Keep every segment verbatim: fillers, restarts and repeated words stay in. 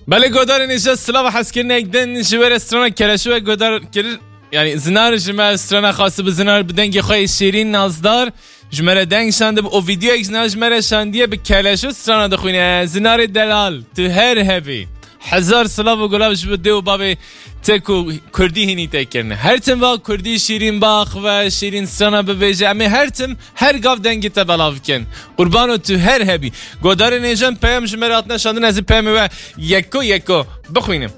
Belê godarên hêja, silav û hezkirinek din ji we re strana Keleşo we godar kir. Yani zinar ji me strana xwest bi zinar bi dengê xwe yê şêrîn nazdar ji me re deng şandib û vîdeoyek zinar ji me re şandiye bi Keleşo strana dixwîne. Zinarê delal, tu her hebî. Hezar silav û gulav ji bo dê û bavê te ku kurdî hînî te kirine. Her tim va kurdî şîrîn baxve, şîrîn strana bibêje. Em ê her tim her gav dengê te belav bikin. Qurbano tu her hebî. Godarên hêja, peyam ji me re hatine şandin, ez ê peyamê we yeko yeko bixwînim.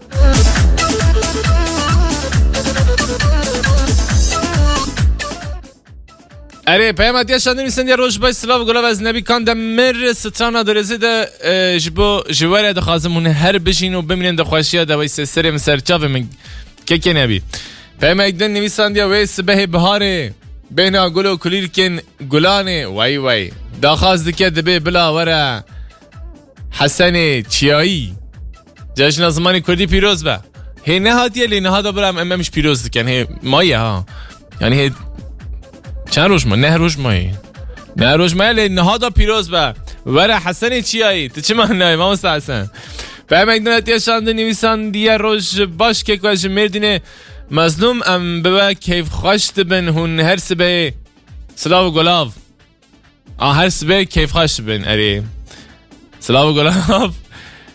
Erê, peyam hatiye şandin, nivîsandiye: Roj baş, silav û gulav, ez Nebî Kandemir, strana Dorêzê de, e, ji bo, ji we re dixwazim hûn her bijîn û bimînin di xweşiya de. Wey, se serê min ser çavê min, kekê Nebî. Peyamek din nivîsandiye: Wê sibehê biharê, bêhna gul û kulîlkên gulanê, wey wey, daxwaz dike dibê bila were Hesenê Çiyayî. Cejna Zimanê Kurdî pîroz be. Hê nehatiye, lê niha da bira em, em ji pîroz dikin. Hê maye ha. Yani hê çend roj ma? Neh roj maye. Neh roj maye, lê niha da pîroz be. Were Hesenê Çiyayî. Tu çima nayê, mamosta Hesen? Peyamek din hatiye şandin, nivîsandiye: Roj baş keko, ez ji Mêrdînê, Mezlûm, em bi we keyfxweş dibin, hûn her sibê silav û gulav. A, her sibê keyfxweş dibin, erê. Silav û gulav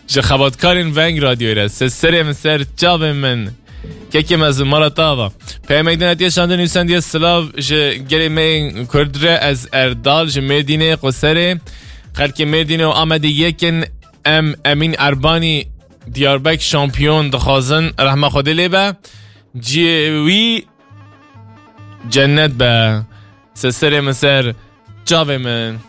ji xebatkarên Veng Radyoyê re. Se serê min ser çavê min. Kekê Mezlûm, mala te ava. Peyamek din hatiye şandin, nivîsandiye: Silav ji gelê me yên Kurd re, ez Erdal, ji Mêrdînê, Qoserê. Xelkê Mêrdînê û Amedê yekin. Em Emîn Erbanî, Diyarbek şampiyon dixwazin, rehma Xwedê lê be. Cihê wî cennet be. Se serê min ser çavê min.